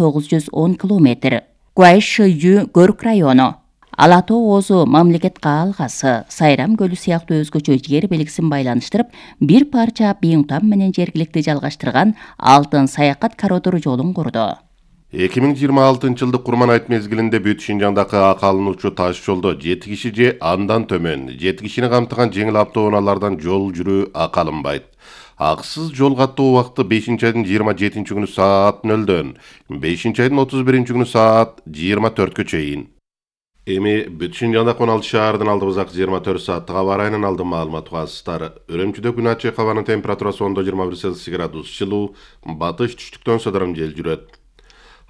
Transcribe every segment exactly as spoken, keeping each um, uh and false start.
тогуз жүз он километр. Гуайшыю Көрк району. Ала Тоо Оозу мамлекет каалгасы Сайрам көлү сыяктуу өзгөчө жер белгисин байланыштырып, бир парча Бийиңтам менен жергиликти жалгаштырган алтын саякат коридор жолун курду. эки миң жыйырма алтынчы жылдык Курман айт мезгилинде Бүт Шинжаңдагы ак алынуучу таш жолдо жети киши же андан төмөн жети кишини камтыган жеңил автоунаалардан жол жүрүү ак алынбайт. Аксыз жол каттоо убакыты бешинчи айдын жыйырма жетинчи күнү саат нөлдөн бешинчи айдын отуз биринчи күнү саат жыйырма төрткө чейин. Эми Бүт Шинжаңда он алты шаардын алдыбызак жыйырма төрт сааттык аба ырайынан алдын маалымат угасыздар. Үрүмчүдө күн ачык, абанын температурасы ондо жыйырма бир Цельсий градус жылуу, батыш түштүктөн сыдырым жел жүрөт.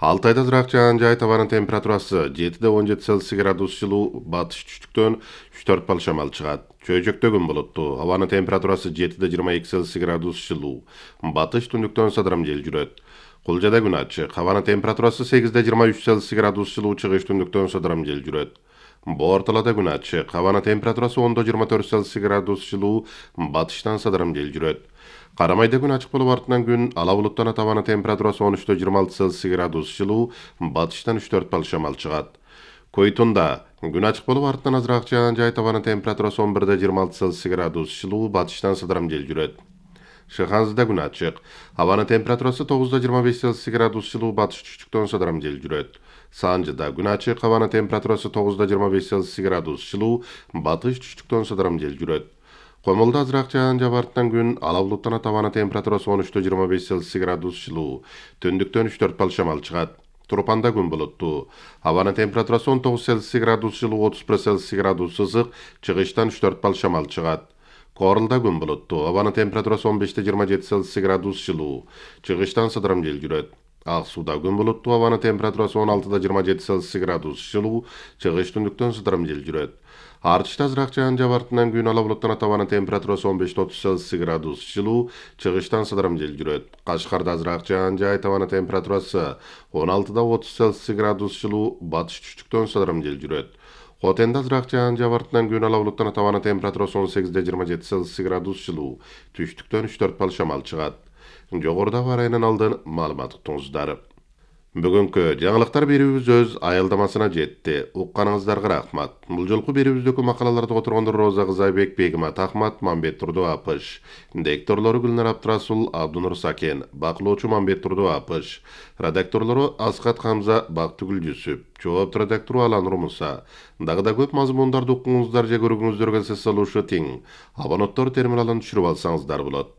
Алтайда ызыраак жаан жай, табанын температурасы жетиде он жети Цельсий градус жылуу, батыш түштүктөн үч төрт балл шамал чыгат. Чөйжөктө күн булуттуу, абанын температурасы жетиде жыйырма эки Цельсий градус жылуу, батыш түндүктөн сыдырым жел жүрөт. Кулжада күн ачык, абанын температурасы сегизде жыйырма үч Цельсий градус жылуу, чыгыш түндүктөн сыдырым жел жүрөт. Боор Талаада күн ачык, абанын температурасы ондо жыйырма төрт Цельсий градус жылуу, батыштан сыдырым жел жүрөт. Карамайда күн ачык болуп артынан күн ала булуттанат, абанын температурасы он үчтө жыйырма алты Цельсий градус жылуу, батыштан үч төрт балл шамал чыгат. Койтунда күн ачык болуп артынан азыраак жаан жай, абанын температурасы он бирде жыйырма алты Цельсий градус жылуу, батыштан сыдырым жел жүрөт. Шыханзыда күн ачык, абанын температурасы тогузда жыйырма беш Цельсий градус жылуу, батыш түштүктөн сыдырым жел жүрөт. Санжыда күн ачык, абанын температурасы тогузда жыйырма беш Цельсий градус жылуу, батыш түштүктөн сыдырым жел жүрөт. Комолдо азыраак жаан жаап артынан күн ала булуттанат, абанын температурасы он үчтө жыйырма беш Цельсий градус жылуу, түндүктөн үч төрт балл шамал чыгат. Турпанда күн булуттуу, абанын температурасы он тогуз Цельсий градус жылуу, отуз бир Цельсий градус ысык, чыгыштан үч төрт балл шамал чыгат. Корулда күн булуттуу, абанын температурасы он беште жыйырма жети Цельсий градус жылуу, чыгыштан сыдырым жел жүрөт. Ак Сууда күн булуттуу, абанын температурасы он алтыда жыйырма жети Цельсий градус жылуу, чыгыш түндүктөн сыдырым жел жүрөт. Артышта азыраак жаан жаап артынан күн ала булуттанат, абанын температурасы он беште отуз Цельсий градус жылуу, чыгыштан сыдырым жел жүрөт. Кашкарда азыраак жаан жай, абанын температурасы он алтыда отуз Цельсий градус жылуу, батыш түштүктөн сыдырым жел жүрөт. Хотенде азыраак жаан жаап артынан күн ала булуттанат, абанын температурасы он сегизде жыйырма жети Цельсий градус жылуу, түштүктөн үч төрт балл шамал чыгат. Жогорудагы ырайынан алдын маалымат уктуңуздар. Бүгүнкү жаңылыктар берүүбүз өз аялдамасына жетти. Укканыңыздарга рахмат. Бул жолку берүүбүздөгү макалаларды которгондор Роза Кызайбек, Бегимат Ахмат, Мамбет Турду Апыш. Дикторлору Гүлнар Абдрасул, Абдунур Сакен, бакылоочу Мамбет Турду Апыш. Редакторлору Аскат Хамза, Бактыгүл Жүсүп. Жоопту редактору Аланур Муса. Дагы да көп мазмундарды укуңуздар же көргүңүздөр келсе салуушу тең. Абоненттор терминалын түшүрүп алсаңыздар болот.